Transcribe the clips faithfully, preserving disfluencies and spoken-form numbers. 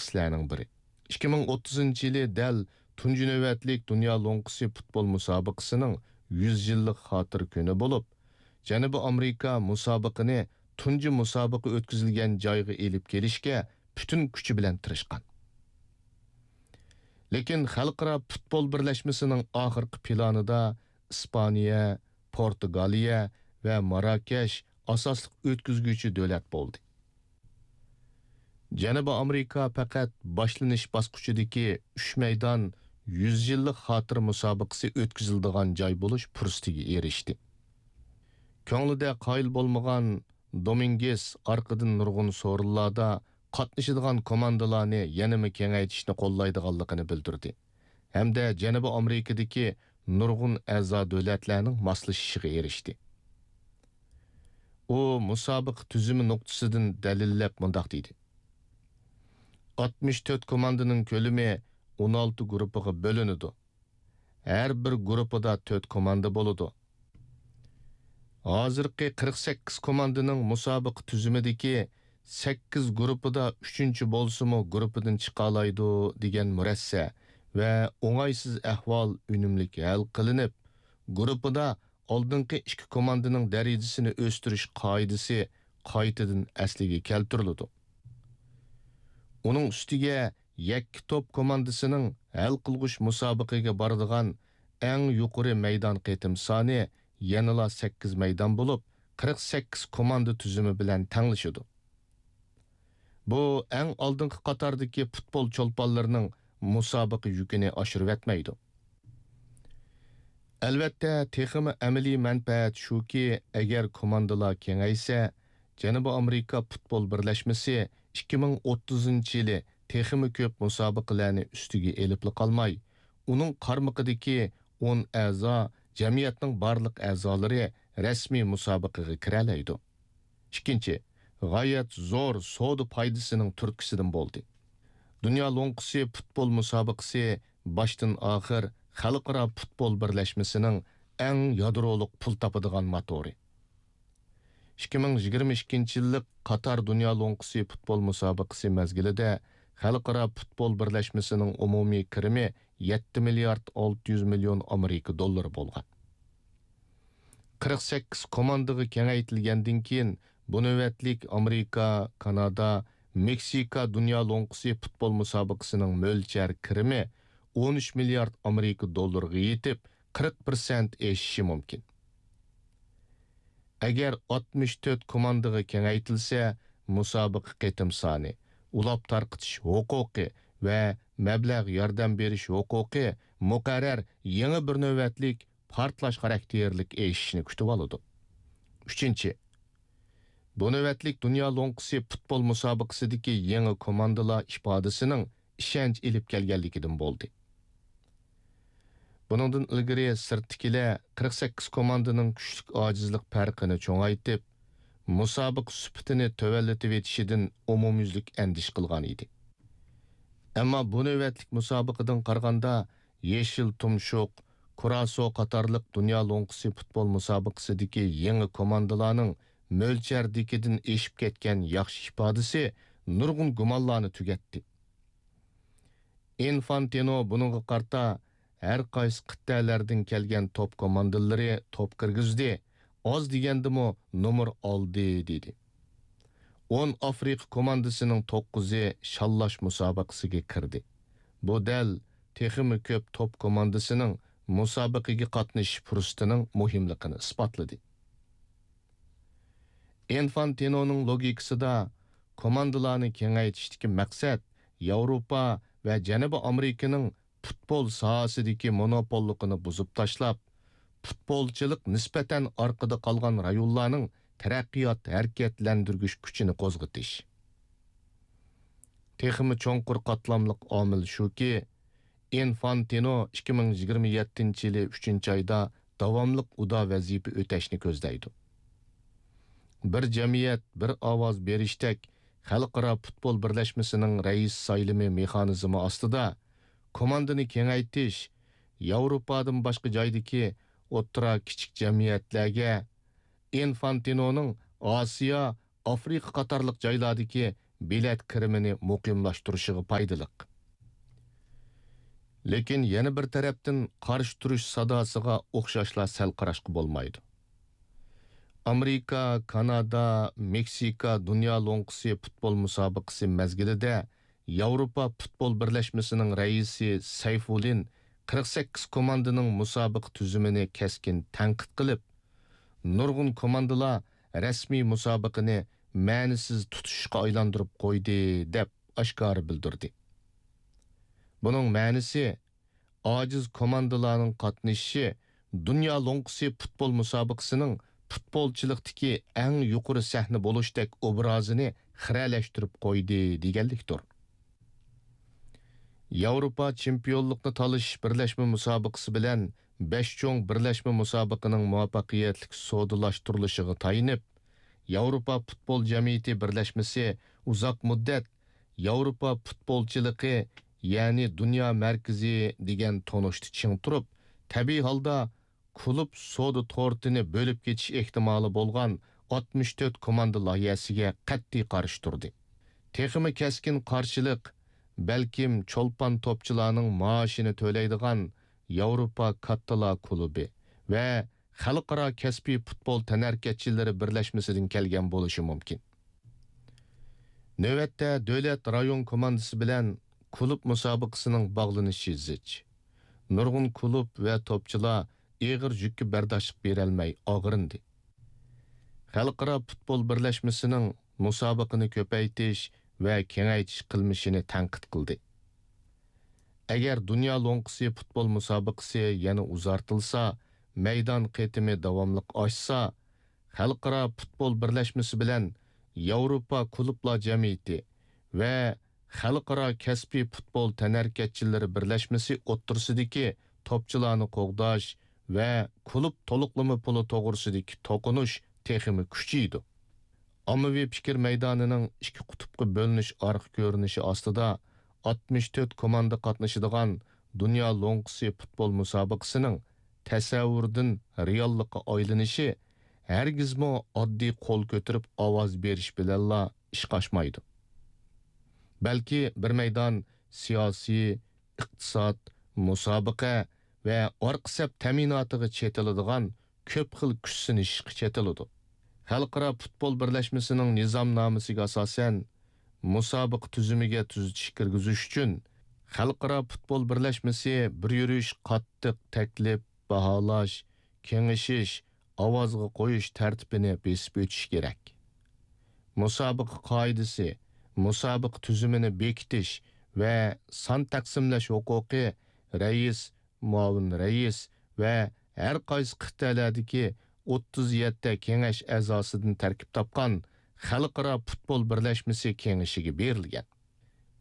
مۇتەخەسسىسلەرنىڭ بىرى. ئىككى مىڭ ئوتتۇزىنچى يىلى دەل تۇنجى نۆۋەتلىك دۇنيا لوڭقىسى پۇتبول مۇسابىقىسىنىڭ يۈز يىللىق خاتىرە كۈنى بولۇپ، جەنۇبىي ئامېرىكا مۇسابىقىنى تۇنجى مۇسابىقە ئۆتكۈزۈلگەن جايغا ئېلىپ كېلىشكە پۈتۈن كۈچى بىلەن تىرىشقان. لېكىن خەلقئارا پۇتبول بىرلەشمىسىنىڭ ئاخىرقى پىلانىدا ئىسپانىيە، پورتۇگالىيە ۋە ماراكەش ئاساسلىق ئۆتكۈزگۈچى دۆلەت بولدى. جەنۇبىي ئامېرىكا پەقەت باشلىنىش باسقۇچىدىكى ئۈچ مەيدان يۈز يىللىق خاتىرە مۇسابىقىسى ئۆتكۈزۈلىدىغان جاي بولۇش پۇرسىتىگە ئېرىشتى. كۆڭلىدە قايىل بولمىغان دومىنگېس ئارقىدىن نۇرغۇن سورۇنلاردا قاتنىشىدىغان كوماندىلارنى يەنىمۇ كېڭەيتىشنى قوللايدىغانلىقىنى بىلدۈردى ھەمدە جەنۇبىي ئامېرىكىدىكى نۇرغۇن ئەزا دۆلەتلەرنىڭ ماسلىشىشىغا ئېرىشتى. ئۇ مۇسابىقە تۈزۈمى نۇقتىسىدىن دەلىللەپ مۇنداق دېدى: ئاتمىش تۆت كوماندىنىڭ كۆلىمى ئون ئالتە گۇرۇپپىغا بۆلۈنىدۇ. ھەر بىر گۇرۇپپىدا تۆت كوماندا بولىدۇ. ھازىرقى قىرىق سەككىز كوماندىنىڭ مۇسابىقە تۈزۈمىدىكى سەككىز گۇرۇپپىدا ئۈچىنچى بولسىمۇ گۇرۇپپىدىن چىقالايدۇ دېگەن مۇرەسسە ۋە ئوڭايسىز ئەھۋال ئۈنۈملۈك ھەل قىلىنىپ، گۇرۇپپىدا ئالدىنقى ئىككى كوماندىنىڭ دەرىجىسىنى ئۆستۈرۈش قائىدىسى قايتىدىن ئەسلىگە كەلتۈرۈلىدۇ. ئۇنىڭ ئۈستىگە يەككە توپ كوماندىسىنىڭ ھەل قىلغۇچ مۇسابىقىگە بارىدىغان ئەڭ يۇقىرى مەيدان قېتىم سانى يەنىلا سەككىز مەيدان بولۇپ، قىرىق سەككىز كوماندا تۈزۈمى بىلەن تەڭلىشىدۇ. بۇ ئەڭ ئالدىنقى قاتاردىكى پۇتبول چولپانلىرىنىڭ مۇسابىقە يۈكىنى ئاشۇرۇۋەتمەيدۇ. ئەلۋەتتە، تېخىمۇ ئەمەلىي مەنپەئەت شۇكى، ئەگەر كوماندىلار كېڭەيسە، جەنۇبىي ئامېرىكا پۇتبول بىرلەشمىسى ئىككى مىڭ ئوتتۇزىنچى يىلى تېخىمۇ كۆپ مۇسابىقىلەرنى ئۈستىگە ئېلىپلا قالماي، ئۇنىڭ قارمىقىدىكى ئون ئەزا جەمئىيەتنىڭ بارلىق ئەزالىرى رەسمىي مۇسابىقىگە كىرەلەيدۇ. ئىككىنچى، غايەت زور سودا پايدىسىنىڭ تۈرتكىسىدىن بولدى. دۇنيا لوڭقىسى پۇتبول مۇسابىقىسى باشتىن ئاخىر خەلقئارا پۇتبول بىرلەشمىسىنىڭ ئەڭ يادرولۇق پۇل تاپىدىغان موتورى. ئىككى مىڭ يىگىرمە ئىككىنچى يىللىق قاتار دۇنيا لوڭقىسى پۇتبول مۇسابىقىسى مەزگىلىدە خەلقئارا پۇتبول بىرلەشمىسىنىڭ ئومۇمىي كىرىمى يەتتە مىليارد ئالتە يۈز مىليون ئامېرىكا دوللىرى بولغان. قىرىق سەككىز كوماندىغا كېڭەيتىلگەندىن كېيىن، بۇ نۆۋەتلىك ئامېرىكا، كانادا، مېكسىكا دۇنيا لوڭقىسى پۇتبول مۇسابىقىسىنىڭ مۆلچەر كىرىمى ئون ئۈچ مىليارد ئامېرىكا دوللىرىغا يېتىپ، قىرىق پىرسەنت ئېشىشى مۇمكىن. ئەگەر ئاتمىش تۆت كوماندىغا كېڭەيتىلسە، مۇسابىقە قېتىم سانى، ئۇلاپ تارقىتىش ھوقۇقى ۋە مەبلەغ ياردەم بېرىش ھوقۇقى مۇقەررەر يېڭى بىر نۆۋەتلىك پارتلاش خاراكتېرلىك ئېشىشنى كۈتۈۋالىدۇ. ئۈچىنچى، بۇ نۆۋەتلىك دۇنيا لوڭقىسى پۇتبول مۇسابىقىسىدىكى يېڭى كوماندىلار ئىپادىسىنىڭ ئىشەنچ ئېلىپ كەلگەنلىكىدىن بولدى. بۇنىڭدىن ئىلگىرى سىرتتىكىلەر قىرىق سەككىز كوماندىنىڭ كۈچلۈك ئاجىزلىق پەرقىنى چوڭايتىپ، مۇسابىقە سۈپىتىنى تۆۋەنلىتىۋېتىشىدىن ئومۇميۈزلۈك ئەندىشە قىلغان ئىدى. ئەمما بۇ نۆۋەتلىك مۇسابىقىدىن قارىغاندا، يېشىل تۇمشۇق، كۇراسو قاتارلىق دۇنيا لوڭقىسى پۇتبول مۇسابىقىسىدىكى يېڭى كوماندىلارنىڭ مۆلچەردىكىدىن ئېشىپ كەتكەن ياخشى ئىپادىسى نۇرغۇن گۇمانلارنى تۈگەتتى. ئىنفانتىنو بۇنىڭغا قارىتا، ھەر قايسى قىتئەلەردىن كەلگەن توپ كوماندىلىرى توپ كىرگۈزدى، ئاز دېگەندىمۇ نومۇر ئالدى، دېدى. ئون ئافرىقا كوماندىسىنىڭ توققۇزى شاللاش مۇسابىقىسىگە كىردى. بۇ دەل تېخىمۇ كۆپ توپ كوماندىسىنىڭ مۇسابىقىگە قاتنىشىش پۇرسىتىنىڭ مۇھىملىقىنى ئىسپاتلىدى. ئىنفانتىنونىڭ لوگىكىسىدا، كوماندىلارنى كېڭەيتىشتىكى مەقسەت ياۋروپا ۋە جەنۇبىي ئامېرىكىنىڭ پۇتبول ساھەسىدىكى مونوپوللۇقىنى بۇزۇپ تاشلاپ، پۇتبولچىلىق نىسبەتەن ئارقىدا قالغان رايونلارنىڭ تەرەققىيات ھەرىكەتلەندۈرگۈچ كۈچىنى قوزغىتىش. تېخىمۇ چوڭقۇر قاتلاملىق ئامىل شۇكى، ئىنفانتىنو ئىككى مىڭ يىگىرمە يەتتىنچى يىلى ئۈچىنچى ئايدا داۋاملىق ئۇدا ۋەزىپە ئۆتەشنى كۆزلەيدۇ. بىر جەمئىيەت، بىر ئاۋاز بېرىشتەك خەلقئارا پۇتبول بىرلەشمىسىنىڭ رەئىس سايلىمى مېخانىزمى ئاستىدا، كوماندىنى كېڭەيتىش، ياۋروپادىن باشقا جايدىكى ئوتتۇرا، كىچىك جەمئىيەتلەرگە، ئىنفانتىنونىڭ ئاسىيا، ئافرىقا قاتارلىق جايلاردىكى بېلەت كىرىمىنى مۇقىملاشتۇرۇشىغا پايدىلىق. لېكىن يەنە بىر تەرەپتىن قارشى تۇرۇش ساداسىغا ئوخشاشلا سەل قاراشقا بولمايدۇ. ئامېرىكا، كانادا، مېكسىكا دۇنيا لوڭقىسى پۇتبول مۇسابىقىسى مەزگىلىدە ياۋروپا پۇتبول بىرلەشمىسىنىڭ رەئىسى سەيفۇللىن قىرىق سەككىز كوماندىنىڭ مۇسابىقە تۈزۈمىنى كەسكىن تەنقىد قىلىپ، نۇرغۇن كوماندىلار رەسمىي مۇسابىقىنى مەنىسىز تۇتۇشۇشقا ئايلاندۇرۇپ قويدى، دەپ ئاشكارا بىلدۈردى. بۇنىڭ مەنىسى، ئاجىز كوماندىلارنىڭ قاتنىشىشى دۇنيا لوڭقىسى پۇتبول مۇسابىقىسىنىڭ پۇتبولچىلىقتىكى ئەڭ يۇقىرى سەھنە بولۇشتەك ئوبرازىنى خىرەلەشتۈرۈپ قويدى، دېگەنلىكتۇر. ياۋروپا چېمپىيونلۇقنى تالىشىش بىرلەشمە مۇسابىقىسى بىلەن بەش چوڭ بىرلەشمە مۇسابىقىنىڭ مۇۋەپپەقىيەتلىك سودىلاشتۇرۇلۇشىغا تايىنىپ، ياۋروپا پۇتبول جەمئىيىتى بىرلەشمىسى ئۇزاق مۇددەت ياۋروپا پۇتبولچىلىقى، يەنى دۇنيا مەركىزى دېگەن تونۇشتا چىڭ تۇرۇپ، تەبىئىي ھالدا كۇلۇب سودا تورتىنى بۆلۈپ كېتىش ئېھتىمالى بولغان ئاتمىش تۆت كوماندا لايىھەسىگە قەتئىي قارشى تۇردى. تېخىمۇ كەسكىن قارشىلىق، بەلكىم چولپان توپچىلارنىڭ مائاشىنى تۆلەيدىغان ياۋروپا كاتتىلار كۇلۇبى ۋە خەلقئارا كەسپىي پۇتبول تەنھەرىكەتچىلىرى بىرلەشمىسىدىن كەلگەن بولۇشى مۇمكىن. نۆۋەتتە دۆلەت رايون كوماندىسى بىلەن كۇلۇب مۇسابىقىسىنىڭ باغلىنىشى زىچ. نۇرغۇن كۇلۇب ۋە توپچىلار ئېغىر يۈككە بەرداشلىق بېرەلمەي ئاغرىندى. خەلقئارا پۇتبول بىرلەشمىسىنىڭ مۇسابىقىنى كۆپەيتىش ۋە كېڭەيتىش قىلمىشىنى تەنقىد قىلدى. ئەگەر دۇنيا لوڭقىسى پۇتبول مۇسابىقىسى يەنە ئۇزارتىلسا، مەيدان قېتىمى داۋاملىق ئاشسا، خەلقئارا پۇتبول بىرلەشمىسى بىلەن ياۋروپا كۇلۇبلار جەمئىيىتى ۋە خەلقئارا كەسپىي پۇتبول تەنھەرىكەتچىلىرى بىرلەشمىسى ئوتتۇرىسىدىكى توپچىلارنى قوغداش ۋە كۇلۇب تولۇقلىما پۇلى توغرىسىدىكى توقۇنۇش تېخىمۇ كۈچىيىدۇ. ئاممىۋى پىكىر مەيدانىنىڭ ئىككى قۇتۇپقا بۆلۈنۈش ئارقا كۆرۈنۈشى ئاستىدا ئاتمىش تۆت كوماندا قاتنىشىدىغان دۇنيا لوڭقىسى پۇتبول مۇسابىقىسىنىڭ تەسەۋۋۇردىن رېئاللىققا ئايلىنىشى ھەرگىزمۇ ئاددىي قول كۆتۈرۈپ ئاۋاز بېرىش بىلەنلا ئىشقا ئاشمايدۇ. بەلكى بىر مەيدان سىياسىي، ئىقتىساد، مۇسابىقە ۋە ئارقا سەپ تەمىناتىغا چېتىلىدىغان كۆپ خىل كۈچ سىنىشىشقا چېتىلىدۇ. خەلقئارا پۇتبول بىرلەشمىسىنىڭ نىزامنامىسىگە ئاساسەن، مۇسابىقە تۈزۈمىگە تۈزىتىش كىرگۈزۈش ئۈچۈن، خەلقئارا پۇتبول بىرلەشمىسى بىر يۈرۈش قاتتىق تەكلىپ، باھالاش، كېڭىشىش، ئاۋازغا قويۇش تەرتىپىنى بېسىپ ئۆتۈشى كېرەك. مۇسابىقە قائىدىسى، مۇسابىقە تۈزۈمىنى بېكىتىش ۋە سان تەقسىملەش ھوقۇقى رەئىس، مۇئاۋىن رەئىس ۋە ھەر قايسى قىتئەلەردىكى ئوتتۇز يەتتە كېڭەش ئەزاسىدىن تەركىب تاپقان خەلقئارا پۇتبول بىرلەشمىسى كېڭىشىگە بېرىلگەن.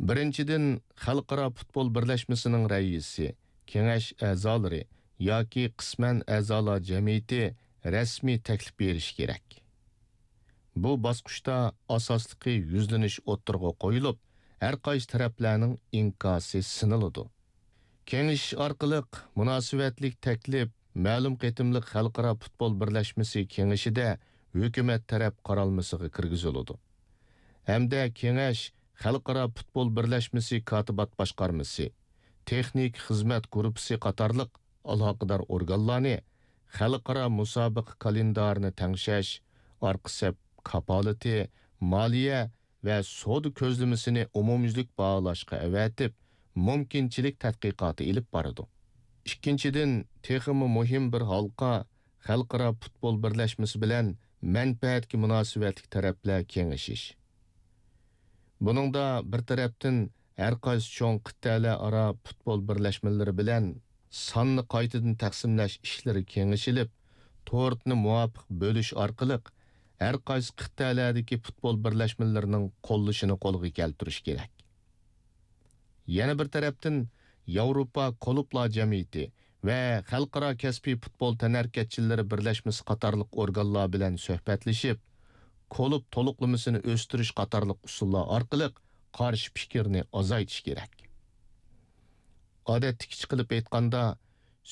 بىرىنچىدىن، خەلقئارا پۇتبول بىرلەشمىسىنىڭ رەئىسى، كېڭەش ئەزالىرى ياكى قىسمەن ئەزالار جەمئىيىتى رەسمىي تەكلىپ بېرىشى كېرەك. بۇ باسقۇچتا ئاساسلىقى يۈزلىنىش ئوتتۇرىغا قويۇلۇپ، ھەر قايسى تەرەپلەرنىڭ ئىنكاسى سىنىلىدۇ. كېڭىشىش ئارقىلىق مۇناسىۋەتلىك تەكلىپ مەلۇم قېتىملىق خەلقئارا پۇتبول بىرلەشمىسى كېڭىشىدە ھۆكۈمەت تەرەپ قارالمىسىغا كىرگۈزۈلىدۇ ھەمدە كېڭەش خەلقئارا پۇتبول بىرلەشمىسى كاتىبات باشقارمىسى، تېخنىكا خىزمەت گۇرۇپپىسى قاتارلىق ئالاقىدار ئورگانلارنى خەلقئارا مۇسابىقە كالېندارىنى تەڭشەش، ئارقا سەپ كاپالىتى، مالىيە ۋە سودا كۆزلىمىسىنى ئومۇميۈزلۈك باھالاشقا ئەۋەتىپ، مۇمكىنچىلىك تەتقىقاتى ئېلىپ بارىدۇ. ئىككىنچىدىن، تېخىمۇ مۇھىم بىر ھالقا خەلقئارا پۇتبول بىرلەشمىسى بىلەن مەنپەئەتكە مۇناسىۋەتلىك تەرەپلەر كېڭىشىش. بۇنىڭدا بىر تەرەپتىن ھەر قايسى چوڭ قىتئەلەر ئارا پۇتبول بىرلەشمىلىرى بىلەن ساننى قايتىدىن تەقسىملەش ئىشلىرى كېڭىشىلىپ، تورتنى مۇۋاپىق بۆلۈش ئارقىلىق ھەر قايسى قىتئەلەردىكى پۇتبول بىرلەشمىلىرىنىڭ قوللىشىنى قولغا كەلتۈرۈش كېرەك. يەنە بىر تەرەپتىن، ياۋروپا كۇلۇبلار جەمئىيىتى ۋە خەلقئارا كەسپىي پۇتبول تەنھەرىكەتچىلىرى بىرلەشمىسى قاتارلىق ئورگانلار بىلەن سۆھبەتلىشىپ، كۇلۇب تولۇقلىمىسىنى ئۆستۈرۈش قاتارلىق ئۇسۇللار ئارقىلىق قارشى پىكىرنى ئازايتىش كېرەك. ئادەتتىكىچە قىلىپ ئېيتقاندا،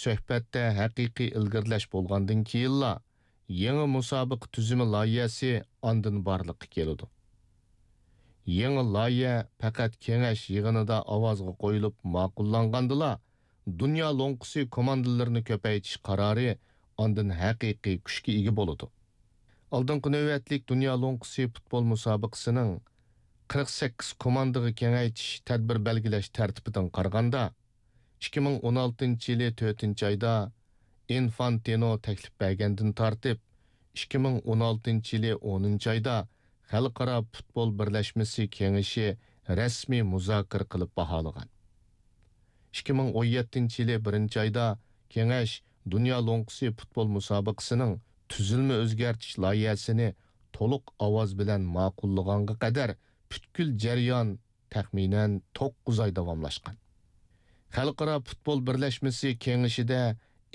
سۆھبەتتە ھەقىقىي ئىلگىرىلەش بولغاندىن كېيىنلا، يېڭى مۇسابىقە تۈزۈمى لايىھەسى ئاندىن بارلىققا كېلىدۇ. يېڭى لايىھە پەقەت كېڭەش يىغىنىدا ئاۋازغا قويۇلۇپ ماقۇللانغاندىلا، دۇنيا لوڭقىسى كوماندىلىرىنى كۆپەيتىش قارارى ئاندىن ھەقىقىي كۈچكە ئىگە بولىدۇ. ئالدىنقى نۆۋەتلىك دۇنيا لوڭقىسى پۇتبول مۇسابىقىسىنىڭ قىرىق سەككىز كوماندىغا كېڭەيتىش تەدبىر بەلگىلەش تەرتىپىدىن قارىغاندا، ئىككى مىڭ ئون ئالتىنچى يىلى تۆتىنچى ئايدا ئىنفانتىنو تەكلىپ بەرگەندىن تارتىپ، ئىككى مىڭ ئون ئالتىنچى يىلى ئونىنچى ئايدا خەلقئارا پۇتبول بىرلەشمىسى كېڭىشى رەسمىي مۇزاكىرە قىلىپ باھالىغان. ئىككى مىڭ ئون يەتتىنچى يىلى بىرىنچى ئايدا كېڭەش دۇنيا لوڭقىسى پۇتبول مۇسابىقىسىنىڭ تۈزۈلمە ئۆزگەرتىش لايىھەسىنى تولۇق ئاۋاز بىلەن ماقۇللىغانغا قەدەر پۈتكۈل جەريان تەخمىنەن توققۇز ئاي داۋاملاشقان. خەلقئارا پۇتبول بىرلەشمىسى كېڭىشىدە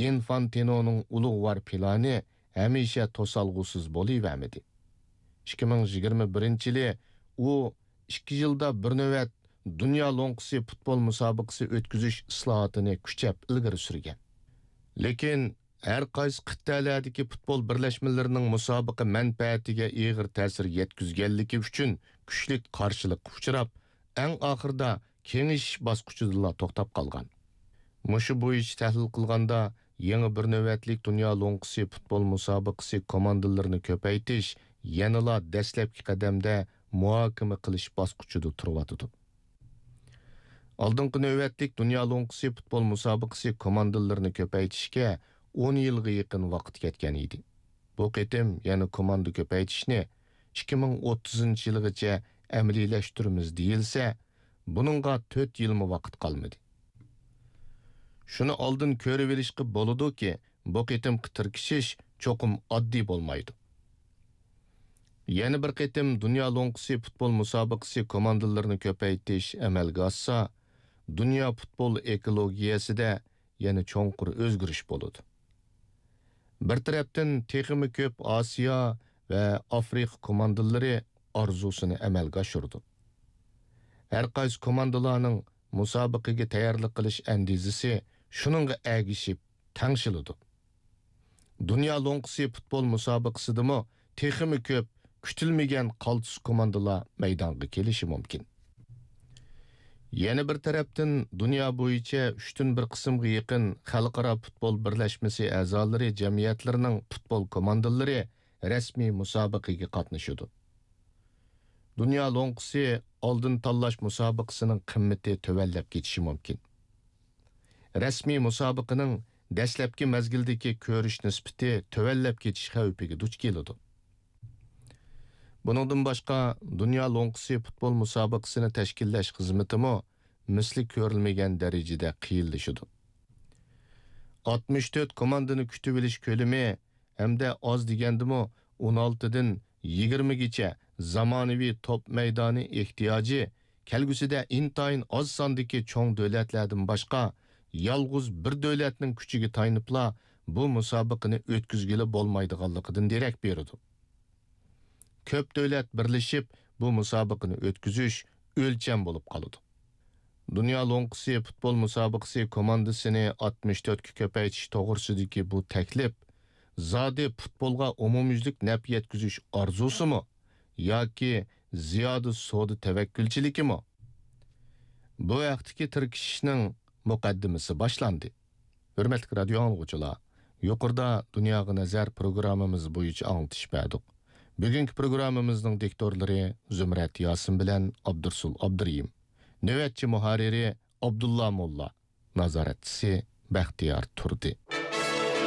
ئىنفانتىنونىڭ ئۇلۇغۋار پىلانى ھەمىشە توسالغۇسىز بولۇۋەرمىدى. ئىككى مىڭ يىگىرمە بىرىنچى يىلى ئۇ ئىككى يىلدا بىر نۆۋەت دۇنيا لوڭقىسى پۇتبول مۇسابىقىسى ئۆتكۈزۈش ئىسلاھاتىنى كۈچەپ ئىلگىرى سۈرگەن. لېكىن ھەر قايسى قىتئەلەردىكى پۇتبول بىرلەشمىلىرىنىڭ مۇسابىقە مەنپەئەتىگە ئېغىر تەسىر يەتكۈزگەنلىكى ئۈچۈن كۈچلۈك قارشىلىققا ئۇچراپ، ئەڭ ئاخىرىدا كېڭىشىش باسقۇچىدىلا توختاپ قالغان. مۇشۇ بويىچە تەھلىل قىلغاندا، يېڭى بىر نۆۋەتلىك دۇنيا لوڭقىسى پۇتبول مۇسابىقىسى كوماندىلىرىنى كۆپەيتىش يەنىلا دەسلەپكى قەدەمدە مۇھاكىمە قىلىش باسقۇچىدا تۇرۇۋاتىدۇ. ئالدىنقى نۆۋەتلىك دۇنيا لوڭقىسى پۇتبول مۇسابىقىسى كوماندىلىرىنى كۆپەيتىشكە ئون يىلغا يېقىن ۋاقىت كەتكەن ئىدى. بۇ قېتىم يەنە كوماندا كۆپەيتىشنى ئىككى مىڭ ئوتتۇزىنچى يىلغىچە ئەمەلىيلەشتۈرىمىز دېيىلسە، بۇنىڭغا تۆت يىلمۇ ۋاقىت قالمىدى. شۇنى ئالدىن كۆرۈۋېلىشقا بولىدۇكى، بۇ قېتىمقى تىركىشىش چوقۇم ئاددىي بولمايدۇ. يەنە بىر قېتىم دۇنيا لوڭقىسى پۇتبول مۇسابىقىسى كوماندىلىرىنى كۆپەيتىش ئەمەلگە ئاشسا، دۇنيا پۇتبول ئېكولوگىيەسىدە يەنە چوڭقۇر ئۆزگىرىش بولىدۇ. بىر تەرەپتىن تېخىمۇ كۆپ ئاسىيا ۋە ئافرىقا كوماندىلىرى ئارزۇسىنى ئەمەلگە ئاشۇرىدۇ. ھەر قايسى كوماندىلارنىڭ مۇسابىقىگە تەييارلىق قىلىش ئەندىزىسى شۇنىڭغا ئەگىشىپ تەڭشىلىدۇ. دۇنيا لوڭقىسى پۇتبول مۇسابىقىسىدىمۇ تېخىمۇ كۆپ كۈتۈلمىگەن قالتىس كوماندىلار مەيدانغا كېلىشى مۇمكىن. يەنە بىر تەرەپتىن، دۇنيا بويىچە ئۈچتىن بىر قىسىمغا يېقىن خەلقئارا پۇتبول بىرلەشمىسى ئەزالىرى جەمئىيەتلىرىنىڭ پۇتبول كوماندىلىرى رەسمىي مۇسابىقىگە قاتنىشىدۇ. دۇنيا لوڭقىسى ئالدىن تاللاش مۇسابىقىسىنىڭ قىممىتى تۆۋەنلەپ كېتىشى مۇمكىن. رەسمىي مۇسابىقىنىڭ دەسلەپكى مەزگىلدىكى كۆرۈش نىسبىتى تۆۋەنلەپ كېتىش خەۋپىگە دۇچ كېلىدۇ. بۇنىڭدىن باشقا، دۇنيا لوڭقىسى پۇتبول مۇسابىقىسىنى تەشكىللەش خىزمىتىمۇ مىسلى كۆرۈلمىگەن دەرىجىدە قىيىنلىشىدۇ. ئاتمىش تۆت كوماندىنى كۈتۈۋېلىش كۆلىمى ھەمدە ئاز دېگەندىمۇ ئون ئالتىدىن يىگىرمىگىچە زامانىۋى توپ مەيدانى ئېھتىياجى كەلگۈسىدە ئىنتايىن ئاز ساندىكى چوڭ دۆلەتلەردىن باشقا، يالغۇز بىر دۆلەتنىڭ كۈچىگە تايىنىپلا بۇ مۇسابىقىنى ئۆتكۈزگىلى بولمايدىغانلىقىدىن دېرەك بېرىدۇ. كۆپ دۆلەت بىرلىشىپ بۇ مۇسابىقىنى ئۆتكۈزۈش ئۆلچەم بولۇپ قالىدۇ. دۇنيا لوڭقىسى پۇتبول مۇسابىقىسى كوماندىسىنى ئاتمىش تۆتكە كۆپەيتىش توغرىسىدىكى بۇ تەكلىپ زادى پۇتبولغا ئومۇميۈزلۈك نەپ يەتكۈزۈش ئارزۇسىمۇ ياكى زىيادە سودا تەۋەككۈلچىلىكىمۇ؟ بۇ ھەقتىكى تىركىشىشنىڭ مۇقەددىمىسى باشلاندى. ھۆرمەتلىك رادىيو ئاڭلىغۇچىلار، يۇقىرىدا دۇنياغا نەزەر پروگراممىمىز بويىچە ئاڭلىتىش بەردۇق. بۈگۈنكى پروگراممىمىزنىڭ دىكتورلىرى زۇمرەت ياسىن بىلەن ئابدۇرسۇل ئابدۇرېھىم. نۆۋەتچى مۇھەررىرى ئابدۇللا موللا. نازارەتچىسى بەختىيار تۇردى.